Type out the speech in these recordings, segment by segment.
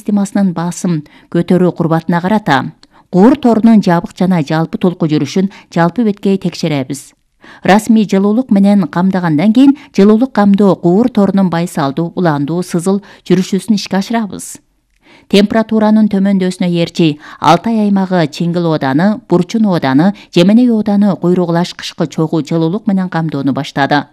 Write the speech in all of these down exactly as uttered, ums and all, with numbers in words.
системасынын басым көтөрүү курбатына карата куур торунун жабык жана жалпы толку жүрүшүн жалпы беткей текшеребиз. Расмий жылуулук менен камдагандан кийин жылуулук камдоо куур торунун байсалдуу, уландуу, сызыл жүрүшүсүн ишке ашырабыз. Температуранын төмөндөсүнө ээрчи Алтай аймагы Чиңгил ооданы, Бурчун ооданы, Жеменей ооданы куйругулаш кышкы чогуу жылуулук менен камдоону баштады.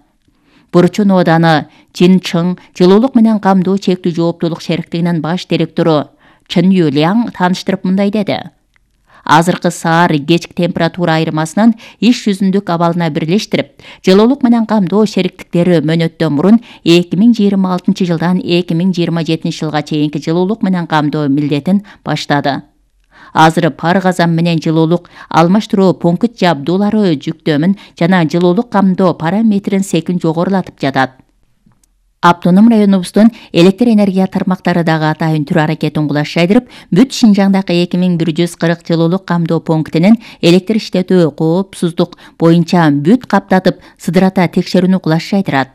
Бурчун ооданы Жинчың жылуулук менен камдоо чектүү жооптуулук шериктигинин баш директору Чын Юляң тааныштырып мындай деди. Азыркы саар кечки температура айырмасынын иш жүзүндүк абалына бирлештирип, жылуулук менен камдоо шериктиктери мөөнөттөн мурун эки миң жыйырма алтынчы жылдан эки миң жыйырма жетинчи жылга чейинки жылуулук менен камдоо милдетин баштады. Азыр пар казан менен жылуулук алмаштыруу пункт жабдуулары жүктөмүн жана жылуулук камдоо параметрин секин жогорулатып жатат. Автоном районубуздун электр энергия тармактары дагы атайын түр аракетин кулаш жайдырып, бүт Шинжаңдагы эки миң бир жүз кырк жылуулук камдоо пунктинин электр иштетүү коопсуздук боюнча бүт каптатып, сыдырата текшерүүнү кулаш жайдырат.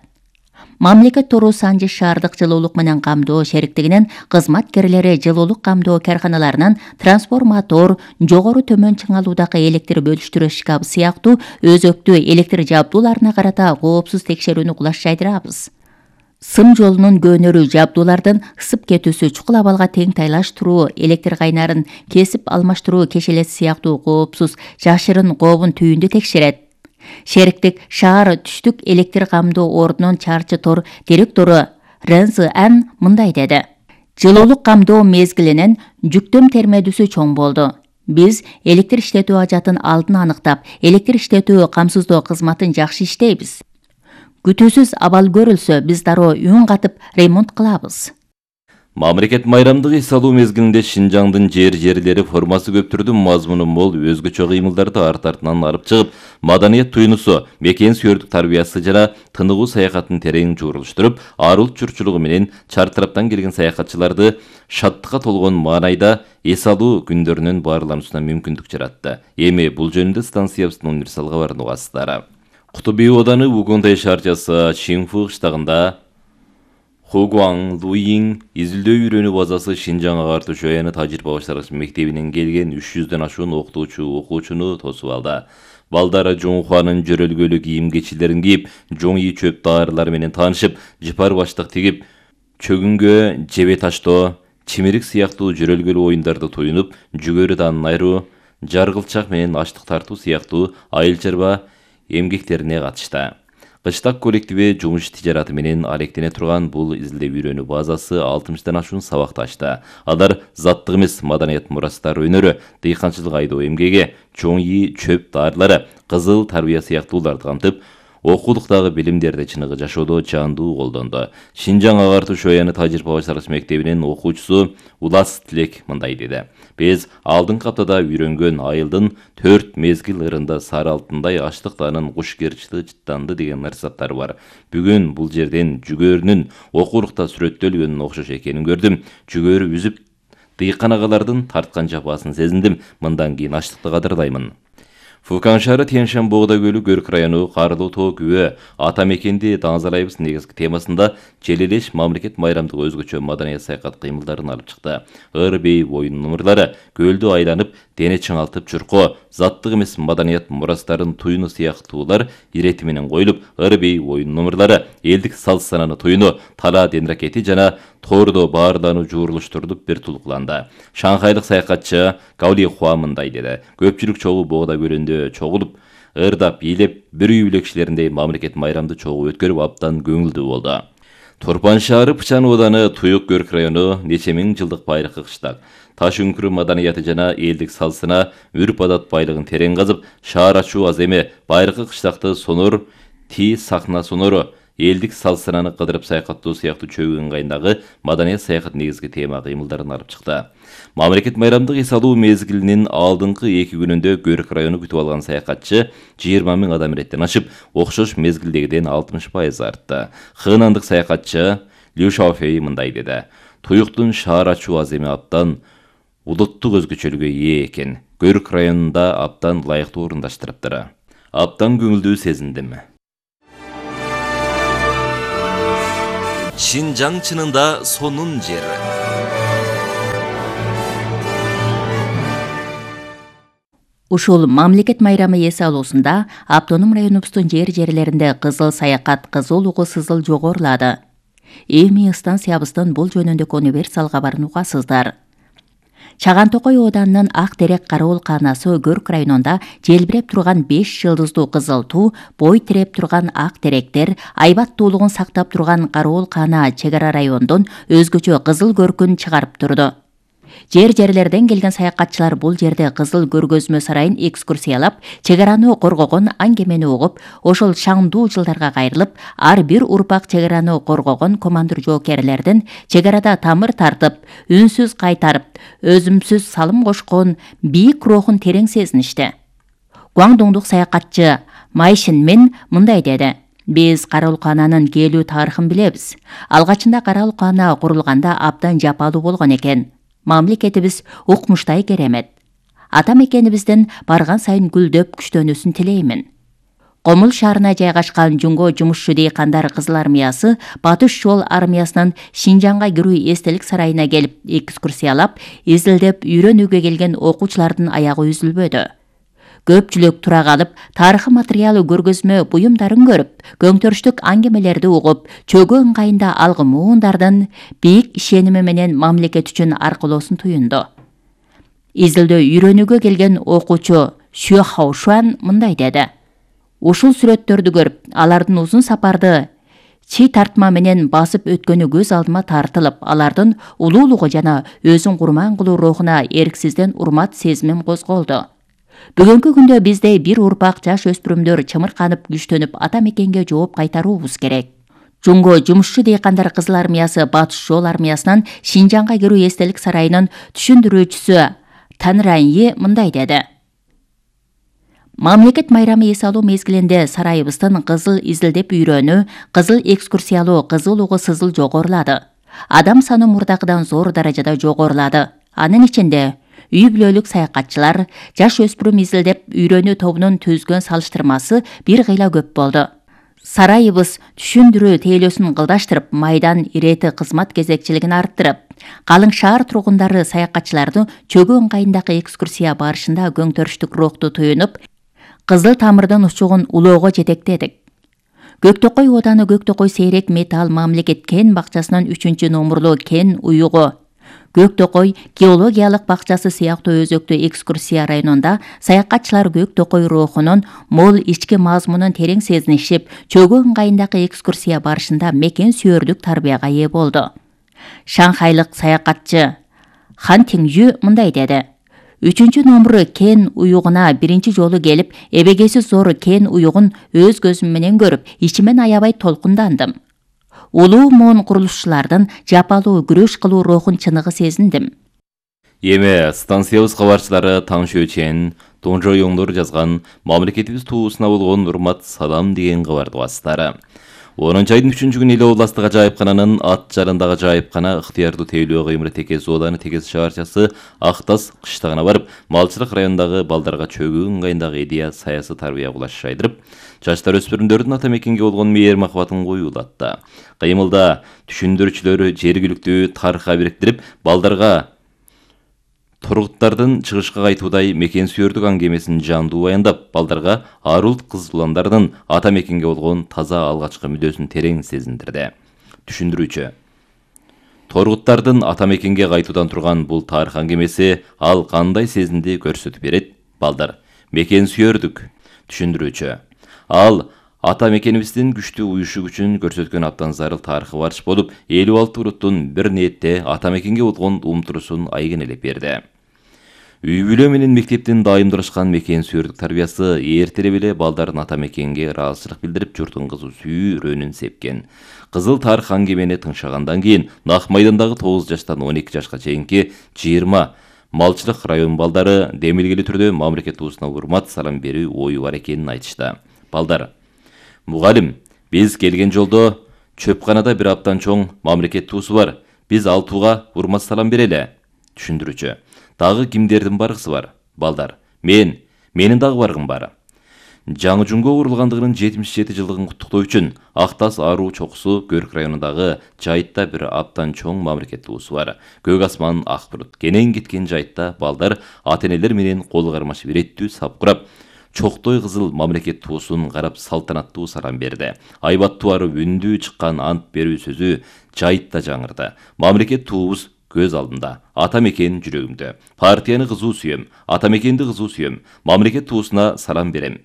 Мамлекет Тору Санжы шаардык жылуулук менен камдоо шериктигинин кызматкерлери жылуулук камдоо карканаларынын трансформатор, жогору төмөн чыңалуудагы электр бөлүштүрүү шкабы сыяктуу өзөктүү электр жабдууларына карата коопсуз текшерүүнү кулаш жайдырабыз. Сым жолунун көөнөрү жабдуулардын ысып кетүүсү, чукул абалга тең тайлаштыруу, электр кайнарын кесип алмаштыруу кешелеси сыяктуу коопсуз жашырын кообун түйүндү текшерет. Шериктик шаар түштүк электр камдоо ордунун чарчы тор директору Рензы Ан мындай деди. Жылуулук камдоо мезгилинин жүктөм термедүүсү чоң болду. Биз электр иштетүү ажатын алдын аныктап, электр иштетүү камсыздоо кызматын жакшы иштейбиз. Күтүүсүз абал көрүлсө, биз дароо үн катып ремонт кылабыз. Мамлекет майрамдык эс алуу мезгилинде Шинжаңдын жер-жерлери формасы көптүрдү мазмуну мол өзгөчө кыймылдарды арт артынан алып чыгып, маданият туйнусу, мекен сүйөрдүк тарбиясы жана тыныгуу саякатын терең журулуштуруп, ар улт журтчулугу менен чар тараптан келген саякатчыларды шаттыкка толгон маанайда эс алуу күндөрүнүн баарлануусуна мүмкүндүк жаратты. Эми бул жөнүндө станциябыздын универсал кабарын угасыздар. Кутуби ооданы Угунтай шаарчасы Чинфу кыштагында Хугуаң Луйин изилдөө үйрөнүү базасы Шинжаң агартуу чояны тажрыйба баштыргыч мектебинен келген үч жүздөн ашуун окутуучу окуучуну тосуп алды. Балдар Жоңхуанын жөрөлгөлүү кийим кечилерин кийип, жоңи чөп даарылары менен таанышып, жыпар баштык тигип, чөгүнгө жебе таштоо, чимирик сыяктуу жөрөлгөлүү оюндарды туюнуп, жүгөрү данын айыруу, жаргылчак менен аштык тартуу сыяктуу айыл чарба эмгектерине катышты. Кыштак коллективи жумуш тижараты менен алектене турган бул изилдөө үйрөнүү базасы алтымыштан ашуун сабакты ачты. Алар заттык эмес маданият мурастар өнөрү, дыйканчылык айдоо эмгеги, чоңи чөп даарылары, кызыл тарбия сыяктууларды камтып, окуулуктагы билимдерди чыныгы жашоодо жандуу колдонду. Шинжаң агартуу чояны тажрыйба баштыргыч мектебинин окуучусу Улас Тилек мындай деди. Биз алдыңкы аптада үйрөнгөн айылдын төрт мезгил ырында сары алтындай аштыктанын куш кырчыты жыттанды деген нарсаттары бар. Бүгүн бул жерден жүгөрүнүн окуурукта сүрөттөлгөнүн окшош экенин көрдүм. Жүгөрү үзүп, дыйкан агалардын тарткан жапасын сезиндим. Мындан кийин аштыкты кадырлаймын. Фукан шаары Тянь-Шань Боғда көлү Көрк району Карлуу тоо күбө ата мекенди таңазалайбыз негизги темасында Желелеш мамлекет майрамдык өзгөчө маданият саякат кыймылдарын алып чыкты. Ыр бей боюн номурлары көлдү айланып, дене чыңалтып чуркоо, заттык эмес маданият мурастарын туюну сыяктуулар ирети менен коюлуп, ыр бей боюн номурлары, элдик салт сананы туюну, тала ден ракети жана тоордо баарлануу жуурулуштурулуп бир тулукланды. Шанхайлык саякатчы Гаули Хуа мындай деди. Көпчүлүк чогуу Боғда көлүндө чогулуп, ырдап, бийлеп, бир үй бүлөкчүлериндей мамлекет майрамды чогуу өткөрүп абдан көңүлдүү болду. Турпан шаары Пычан ооданы Туюк Көрк району нече миң жылдык байыркы кыштак. Таш үңкүрү маданияты жана элдик салсына үрп адат байлыгын терең казып, шаар ачуу аз эме, байыркы кыштакты сонор, ти сахна сонору, элдик салсынаны кыдырып саякаттоо сыяктуу чөгүн ыңгайындагы маданият саякат негизги тема кыймылдарын алып чыкты. Мамлекет майрамдык эс алуу мезгилинин алдыңкы эки күнүндө Көрк району күтүп алган саякатчы жыйырма миң адам иреттен ашып, окшош мезгилдегиден алтымыш пайыз артты. Хынандык саякатчы Лю Шаофей мындай деди. Туюктун шаар ачуу аз эме абдан улуттук өзгөчөлүгү ээ экен. Көрк районунда абдан ылайыктуу орундаштырыптыр. Абдан көңүлдүү сезиндим. Шинжаң чынында сонун жер. Ушул мамлекет майрамы эс алуусунда автоном районубуздун жер-жерлеринде кызыл саякат, кызыл угу сызыл жогорулады. Эми станциябыздын бул жөнүндөгү универсал кабарын угасыздар. Чаган Токой ооданынын Ак Терек Кароол каанасы Көрк районунда желбиреп турган беш жылдыздуу кызыл туу, бой тиреп турган ак теректер, айбаттуулугун сактап турган Кароол каана чек ара райондун өзгөчө кызыл көркүн чыгарып турду. Жер-жерлерден келген саякатчылар бул жерде кызыл көргөзмө сарайын экскурсиялап, чек араны коргогон аңгемени угуп, ошол шаңдуу жылдарга кайрылып, ар бир урпак чек араны коргогон командир жоокерлердин чек арада тамыр тартып, үнсүз кайтарып, өзүмсүз салым кошкон бийик рухун терең сезиништи. Гуаңдуңдук саякатчы Майшин Мен мындай деди: Биз Кароол каананын келүү тарыхын билебиз. Алгачында Кароол каана курулганда абдан жапалуу болгон экен. Мамлекетибиз укмуштай керемет. Ата мекенибиздин барган сайын гүлдөп күчтөнүүсүн тилеймин. Комул шаарына жайгашкан Жунго жумушчу дыйкандар кызыл армиясы Батыш жол армиясынын Шинжаңга кирүү эстелик сарайына келип экскурсиялап, изилдеп үйрөнүүгө келген окуучулардын аягы үзүлбөдү. Көпчүлүк тура калып, тарыхый материалы көргөзмө буюмдарын көрүп, көңтөрүштүк аңгемелерди угуп, чөгө ыңгайында алгы муундардын бийик ишеними менен мамлекет үчүн аркылоосун туюнду. Изилдөө үйрөнүүгө келген окуучу Xue Haoshuan мындай деди: Ушул сүрөттөрдү көрүп, алардын узун сапарды чи тартма менен басып өткөнү көз алдыма тартылып, алардын улуулугу жана өзүн курман кылуу рухуна эрксизден урмат сезимим козголду. Бүгүнкү күндө бизде бир урпак жаш өспүрүмдөр чымырканып, күчтөнүп, ата мекенге жооп кайтаруубуз керек. Жунго жумушчу дыйкандар кызыл армиясы Батыш жол армиясынан Шинжаңга кирүү эстелик сарайынын түшүндүрүүчүсү Танраньи мындай деди: Мамлекет майрамы эс алуу мезгилинде сарайыбыздын кызыл изилдеп үйрөнүү, кызыл экскурсиялоо, кызыл угу сызыл жогорулады. Адам саны мурдакыдан зор даражада жогорулады. Анын ичинде үй бүлөлүк саякатчылар, жаш өспүрүм изилдеп үйрөнүү тобунун түзгөн салыштырмасы бир кыйла көп болду. Сарайыбыз түшүндүрүү тейлөөсүн кылдаштырып, майдан ирети кызмат кезекчилигин арттырып, калың шаар тургундары саякатчыларды чөгө ыңгайындагы экскурсия барышында көңтөрүштүк рухту туюнуп, кызыл тамырдын учугун улоого жетектедик. Көктөкөй ооданы Көктөкөй сейрек металл мамлекет кен бакчасынын үчүнчү номурлуу кен уюгу, Көктөкөй геологиялык бакчасы сыяктуу өзөктүү экскурсия районунда саякатчылар Көктөкөй рухунун мол ички мазмунун терең сезинишип, чөгө ыңгайындагы экскурсия барышында мекен сүйөрлүк тарбияга ээ болду. Шанхайлык саякатчы Хан Тиңжү мындай деди: Үчүнчү номуру кен уюгуна биринчи жолу келип, эбегеси зор кен уюгун өз көзүм менен көрүп, ичимен аябай толкундандым. Улуу моон курулушчулардын жапалуу күрөш кылуу рухун чыныгы сезиндим. Эми станциябыз кабарчылары Таң Шөчен, Тонжо Yoңдор жазган мамлекетибиз туусуна болгон урмат салам деген кабарды угасыздар. онунчу айдын үчүнчү күнү эле областык ажайыпкананын ат жарындагы ажайыпкана ыктыярдуу тейлөө кыймыры Текес ооданы Текес шаарчасы Актас кыштагына барып, малчылык районундагы балдарга чөгүү ыңгайындагы идея саясий тарбия кулаш жайдырып, жаштар өспүрүмдөрдүн ата мекенге болгон мээр махабатын коюулатты. Кыймылда түшүндүрүүчүлөр жергиликтүү тарыхка бириктирип, балдарга Торгуттардын чыгышка кайтуудай мекен сүйөрдүк аңгемесин жандуу баяндап, балдарга Арулт кыз уландардын ата мекенге болгон таза алгачкы мүдөөсүн терең сезиндирди. Түшүндүрүүчү: Торгуттардын ата мекенге кайтуудан турган бул тарых аңгемеси ал кандай сезимди көрсөтүп берет? Балдар: мекен сүйөрдүк. Түшүндүрүүчү: ал ата мекенибиздин күчтүү уюшу үчүн көрсөткөн абдан зарыл тарыхы барыш болуп, элүү алты уруттун бир ниетте ата мекенге болгон умтурушун айгинелеп берди. Үй бүлө менен мектептин дайымдашкан мекен сүйөрдүк тарбиясы эртерээк эле балдардын ата мекенге ыраазычылык билдирип, журтун кызуу сүйүүрөнүн сепкен. Кызыл тарых аңгемени тыңшагандан кийин Нак майдандагы тогуз жаштан он эки жашка чейинки жыйырма малчылык район балдары демилгелүү түрдө мамлекет туусуна урмат салам берүү ою бар экенин айтышты. Балдар: Мугалим, биз келген жолдо чөпканада бир аптан чоң мамлекет туусу бар. Биз ал тууга урмат салам берели. Түшүндүрүүчү: Дагы кимдердин баргысы бар? Балдар: Мен, менин дагы баргым бар. Жаңы Жунго курулгандыгынын жетимиш жети жылдыгын куттуктоо үчүн Ак Таш Аруу чокусу Көрк районундагы Жайытта бир абдан чоң мамлекет туусу бар. Көк асман ак булут. Кенен кеткен Жайытта балдар ата-энелер менен кол кармашып иреттүү сап курап, чоктой кызыл мамлекет туусун карап салтанаттуу салам берди. Айбаттуу арып үндүү чыккан ант берүү сөзү Жайытта жаңырды. Мамлекет туубуз көз алдында, ата мекен жүрөгүмдө. Партияны кызуу сүйөм, ата мекенди кызуу сүйөм, мамлекет туусуна салам берем.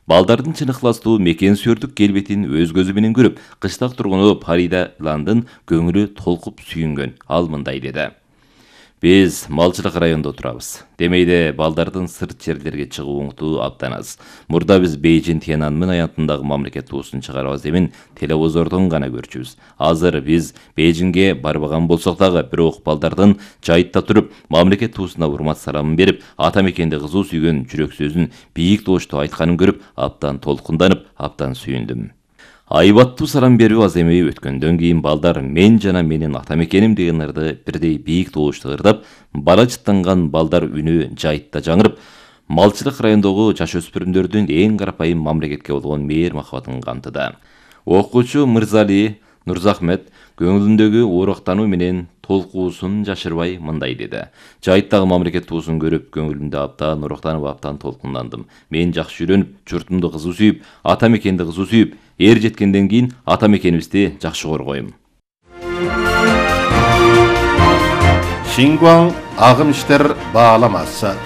Балдардын чыныктуу мекен сүйөрдүк келбетин өз көзү менен көрүп, кыштак тургуну Парида Ландын көңүлү толкуп сүйүнгөн. Ал мындай деди: Биз малчылык районунда турабыз. Демейде балдардын сырт жерлерге чыгуу оңтуу абдан аз. Мурда биз Бейжин Тяньаньмын аянтындагы мамлекет туусун чыгарабыз демин телевизордон гана көрчүбүз. Азыр биз Бейжинге барбаган болсок дагы, бирок балдардын Жайытта туруп, мамлекет туусуна урмат саламын берип, ата мекенди кызуу сүйгөн жүрөк сөзүн бийик добуштуу айтканын көрүп, абдан толкунданып, абдан сүйүндүм. Айбаттуу салам берүү аз эмей өткөндөн кийин балдар мен жана менин ата мекеним деген ырды бирдей бийик добуштуу ырдап, бала жыттанган балдар үнү Жайытта жаңырып, малчылык райондогу жаш өспүрүмдөрдүн эң карапайым мамлекетке болгон мээр махабатын камтыды. Окуучу Мырзали Нурзахмет көңүлүндөгү оорактануу менен толкуусун жашырбай мындай деди: Жайыттагы мамлекет туусун көрүп, көңүлүмдө абдан оорактанып, абдан толкундандым. Мен жакшы үйрөнүп, журтумду кызуу сүйүп, ата мекенди кызуу сүйүп, эр жеткенден кийин ата мекенибизди жакшы коргойм. Шингуаң агым иштер бааламасы.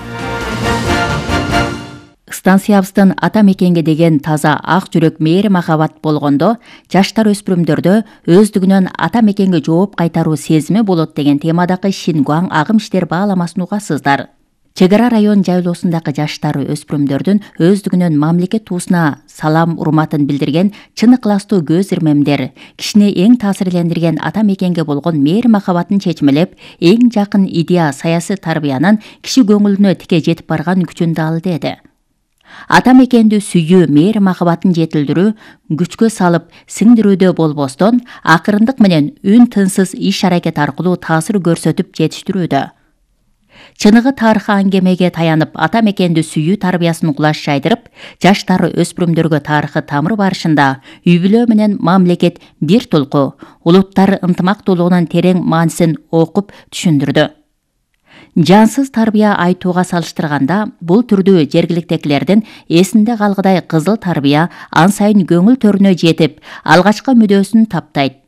Станциябыздын ата мекенге деген таза ак жүрөк мээри махабат болгондо, жаштар өспүрүмдөрдө өздүгүнөн ата мекенге жооп кайтаруу сезими болот деген темадагы Шингуаң агым иштер бааламасын угасыздар. Чек ара район жайлоосундагы жаштар өспүрүмдөрдүн өздүгүнөн мамлекет туусуна салам урматын билдирген чын ыкластуу көз ирмемдер, кишини эң таасирлендирген ата мекенге болгон мээри махабатын чечмелеп, эң жакын идея саясий тарбиянын киши көңүлүнө тике жетип барган күчүн дал деди. Ата мекенди сүйүү, мээри махабатын жетилдирүү, күчкө салып сиңдирүүдө болбостон, акырындык менен үн тынсыз иш аракет аркылуу таасир көрсөтүп жетиштирүүдө. Чыныгы тарых аңгемеге таянып, ата мекенди сүйүү тарбиясын кулаш жайдырып, жаштар өспүрүмдөргө тарыхы тамыр барышында үй бүлө менен мамлекет бир толку, улуттар ынтымактуулугунун терең маанисин окуп түшүндүрдү. Жансыз тарбия айтууга салыштырганда, бул түрдүү жергиликтегилердин эсинде калгыдай кызыл тарбия ан сайын көңүл төрүнө жетип, алгачкы мүдөөсүн таптайт.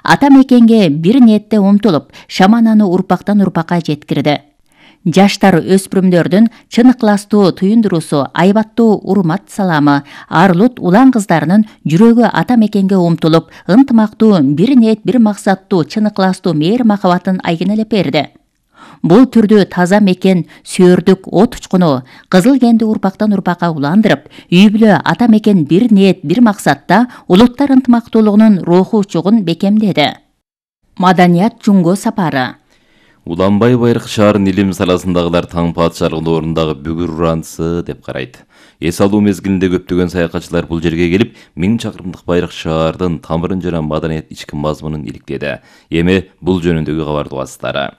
Ата мекенге бир ниетте умтулуп, шамананы урпактан урпакка жеткирди. Жаштар өспүрүмдөрдүн чын ыкластуу туюндуруусу, айбаттуу урмат саламы, арлут улан кыздарынын жүрөгү ата мекенге умтулуп, ынтымактуу, бир ниет, бир максаттуу, чын ыкластуу мээри махабатын айгинелеп берди. Бул түрдүү таза мекен сүйөрдүк от учкуну кызыл кенди урпактан урпакка уландырып, үй бүлө ата мекен бир ниет, бир максатта улуттар ынтымактуулугунун руху чугун бекемдеди. Маданият Жунго сапары. Уланбай Байрак шаарынын илим саласындагылар таң падышалыгынын ордундагы бүгүр уранысы деп карайт. Эс алуу мезгилинде көптөгөн саякатчылар бул жерге келип, миң чакырымдык Байрак шаардын тамырын жана маданият ички мазмунун иликтеди. Эми бул жөнүндөгү кабарды угасыздар.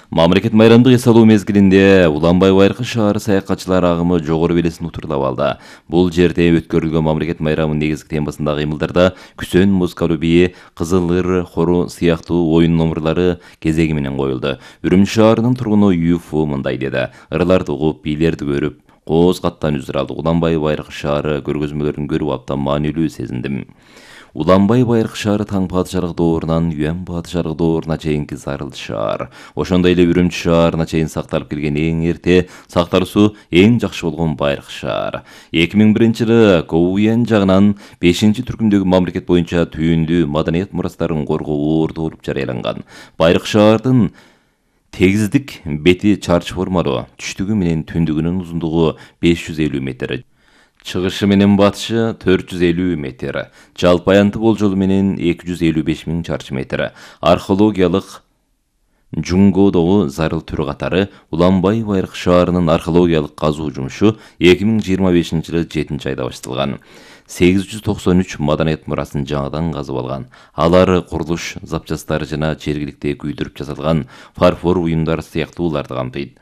Мамлекет майрамдык эс алуу мезгилинде Уланбай Байрак шаары саякатчылар агымы жогору белесин утурлап алды. Бул жерде өткөрүлгөн мамлекет майрамынын негизги темасындагы кыймылдарда күсөн, музыкалуу бии, кызыл ыр, хору сыяктуу оюн номурлары кезеги менен коюлду. Үрүмчү шаарынын тургуну Юфу мындай деди: ырларды угуп, бийлерди көрүп, кооз каттан үзүр алдык. Уланбай Байрак шаары көргөзмөлөрүн көрүп абдан маанилүү сезиндим. Уланбай Байрак шаары таң падышалык доорунан Юан падышалык дооруна чейинки зарыл шаар. Ошондой эле Үрүмчү шаарына чейин сакталып келген эң эрте, сакталуусу эң жакшы болгон Байрак шаар. эки миң биринчи жылы Коуян жагынан бешинчи түркүмдөгү мамлекет боюнча түйүндүү маданият мурастарын коргоо орду болуп жарыяланган. Байрак шаардын тегиздик бети чарчы формалуу, түштүгү менен түндүгүнүн узундугу беш жүз элүү метр. Чыгышы менен батышы төрт жүз элүү метр, жалпы аянты болжолу менен эки жүз элүү беш миң чарчы метр. Археологиялык Жунгодогу зарыл түрү катары Уланбай Байрак шаарынын археологиялык казуу жумушу эки миң жыйырма бешинчи жылы жетинчи айда башталган. сегиз жүз токсон үч маданият мурасын жаңадан казып алган. Алар курулуш запчастары жана жергиликте күйдүрүп жасалган фарфор уюмдар сыяктууларды камтыйт.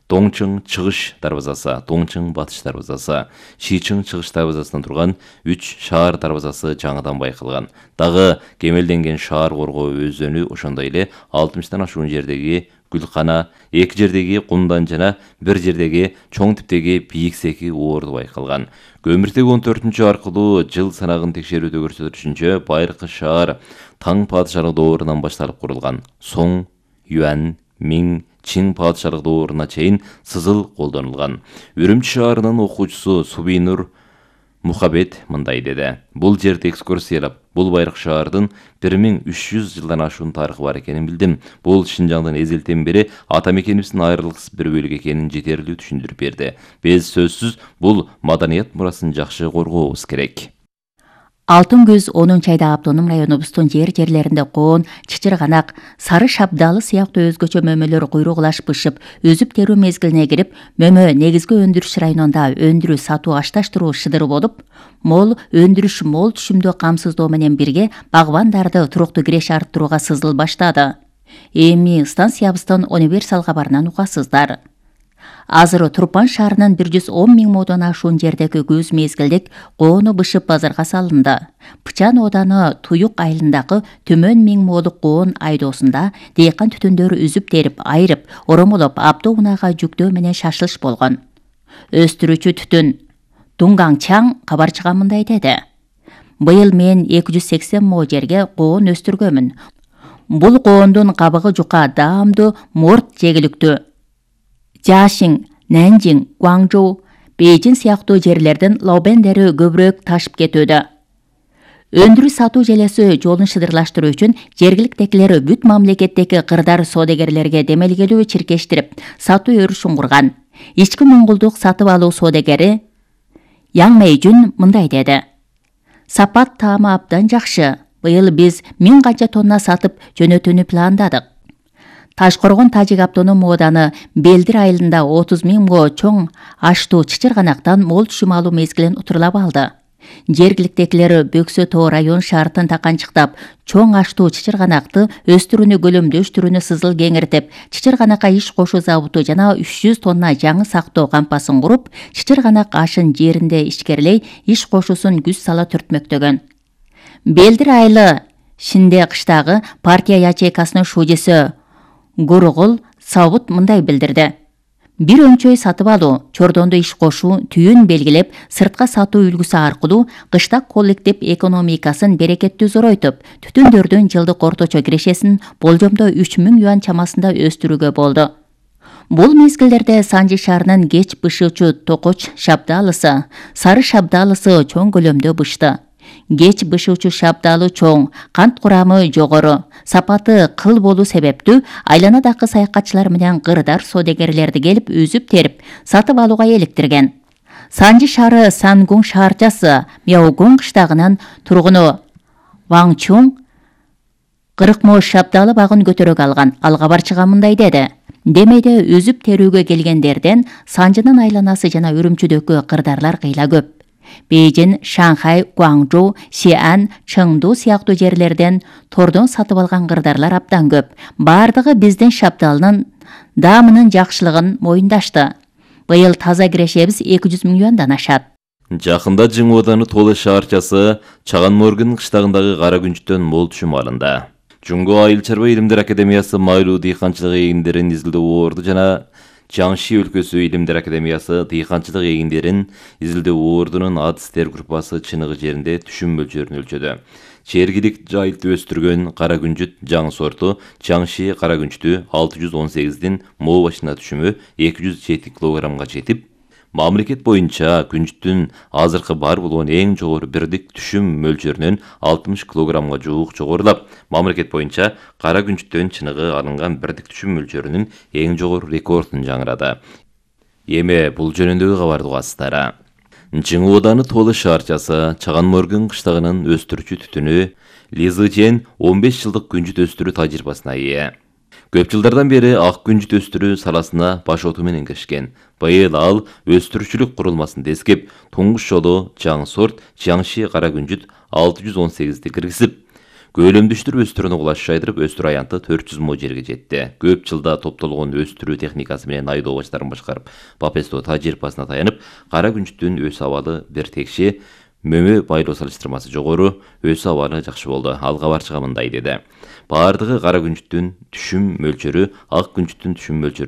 Доңчың чыгыш дарбазасы, Доңчың батыш дарбазасы, Шийчың чыгыш дарбазасынан турган үч шаар дарбазасы жаңыдан байкалган. Дагы кемелденген шаар коргоо өзөнү ошондой эле алтымыштан ашуун жердеги Гүлкана, эки жердеги Кумдан жана бир жердеги чоң типтеги Бийиксеки оорду байкалган. Көмүртеги он төртүнчү аркылуу жыл санагын текшерүүдө көрсөтүшүнчө байыркы шаар Таң падышалык доорунан башталып курулган. Соң, Юань, Миң, Чин падышалык дооруна чейин сызыл колдонулган. Үрүмчү шаарынын окуучусу Субийнур Мухабет мындай деди. Бул жерди экскурсиялап, бул байыркы шаардын бир миң үч жүз жылдан ашуун тарыхы бар экенин билдим. Бул Шинжаңдын эзелтен бери ата мекенибиздин айрылыксыз бір бөлүгү экенин жетерлүү түшүндүрүп берди. Биз сөзсүз бул маданият мурасын жакшы коргообуз керек. Алтын көз онунчу айда автоном районубуздун жер жерлеринде коон, чычырганак, сары шабдалы сыяктуу өзгөчө мөмөлөр куйругулаш бышып, өзүп терүү мезгилине кирип, мөмө негизги өндүрүш районунда өндүрүү сатуу ашташтыруу шыдыр болуп, мол өндүрүш мол түшүмдүү камсыздоо менен бирге багбандарды туруктуу киреш арттырууга сызыл баштады. Эми станциябыздын универсал кабарынан угасыздар. Азыр Турпан шаарынын бир жүз он миң модон ашуун жердеги көз мезгилдик коону бышып базарга салынды. Пычан ооданы Туюк айылындагы төмөн миң молук коон айдоосунда дейкан түтүндөр үзүп терип, айрып, оромолоп, автоунаага жүктөө менен шашылыш болгон. Өстүрүүчү түтүн Дуңгаңчаң кабарчыга мындай деди. Быйыл мен эки жүз сексен мо жерге коон өстүргөмүн. Бул коондун кабыгы жука, даамдуу, морт жегиликтүү. Жашиң, Нанжиң, Гуаңжоу, Бейжин сыяктуу жерлердин лаобендери көбүрөөк ташып кетүүдө. Өндүрүү сатуу желеси жолун шыдырлаштыруу үчүн жергиликтегилер бүт мамлекеттеги кырдар соодагерлерге демелгелүү чиркештирип, сатуу өрүшүн курган. Ички моңгулдук сатып алуу соодагери Яң Мэйжүн мындай деди. Сапат таамы абдан жакшы. Быйыл биз миң канча тонна сатып жөнөтүүнү пландадык. Ташкоргон Тажик автоном ооданы Белдир айылында отуз миң мо чоң аштуу чычырганактан мол түшүм алуу мезгилин утурлап алды. Жергиликтегилер Бөксө тоо район шартын таканчыктап, чоң аштуу чычырганакты өстүрүүнү көлөмдөштүрүүнү сызыл кеңиртип, чычырганакка иш кошуу заводу жана үч жүз тонна жаңы сактоо кампасын куруп, чычырганак ашын жеринде ишкерлей, иш кошуусун күз сала түртмөктөгөн. Белдир айылы Шинде кыштагы партия ячейкасынын шужесі Гургул Сабут мындай билдирди. Бир өңчөй сатып алуу, чордонду иш кошуу, түйүн белгилеп, сыртка сатуу үлгүсү аркылуу кыштак коллектив экономикасын берекеттүү зоройтуп, түтүндөрдүн жылдык орточо кирешесин болжомдо үч миң юань чамасында өстүрүүгө болду. Бул мезгилдерде Санжи шаарынын кеч бышуучу Токоч шабдалысы, Сары шабдалысы чоң көлөмдө бышты. Кеч бышуучу шабдалы чоң, кант курамы жогору, сапаты кыл болуу себептүү айланадагы саякатчылар менен кырдар соодагерлерди келип үзүп терип, сатып алууга эликтирген. Санжи шаары Сангун шаарчасы Мяогун кыштагынын тургуну Ваң Чуң кырк мо шабдалы багын көтөрөк алган. Ал кабарчыга мындай деди. Демейде үзүп терүүгө келгендерден Санжынын айланасы жана Үрүмчүдөгү кырдарлар кыйла көп. Бейжин, Шанхай, Гуаңжоу, Сиан, Чыңду сыяктуу жерлерден тордон сатып алган кырдарлар абдан көп. Бардыгы биздин шабдалынын даамынын жакшылыгын моюндашты. Быйыл таза кирешебиз эки жүз миң юандан ашат. Жакында Жың ооданы Толы шаарчасы Чаган Моргун кыштагындагы кара күнчтөн мол түшүм алынды. Жунго Айыл чарба илимдер академиясы майлуу дыйканчылык эгиндерин изилдөө оорду жана Жаңши өлкөсү илимдер академиясы дыйканчылык эгиндерин изилдөө оордунун адыстер группасы чыныгы жеринде түшүм мөлчөрүн өлчөдү. Чергилик жайылтып өстүргөн кара күнчүт жаңы сорту Жаңши кара күнчтү алты жүз он сегиздин мо башына түшүмү эки жүз жети килограммга жетип, мамлекет боюнча күнчүттүн азыркы бар болгон эң жогору бирдик түшүм мөлчөрүнөн алтымыш килограммга жуук жогорулап, мамлекет боюнча кара күнчүттөн чыныгы алынган бирдик түшүм мөлчөрүнүн эң жогору рекордун жаңырады. Эми бул жөнүндөгү кабарды угасыздар. Жың ооданы Толы шаарчасы Чаган Моргун кыштагынын өстүрүүчү түтүнү Лизы Жен он беш жылдык күнчүт өстүрүү тажрыйбасына ээ. Көп жылдардан бери ак күнчүт өстүрүү саласына баш оту менен киришкен. Быйыл ал өстүрүүчүлүк курулмасын тескеп, туңгуч жолу жаңы сорт Жаңши кара күнчүт алты жүз он сегизди киргизип, Көлөмдүштүр өстүрүүнү кулаш жайдырып, өстүр аянты төрт жүз мо жерге жетти. Көп жылда топтолгон өстүрүү техникасы менен айдоо баштарын башкарып, Папесто тажрыйбасына таянып, кара күнчүттүн өс абалы бир текши, мөмө байлоо салыштырмасы жогору, өс абалы жакшы болду. Ал кабарчыга мындай деди: баардыгы кара күнчүттүн түшүм мөлчөрү ак күнчүттүн түшүм мөлчөрүнөн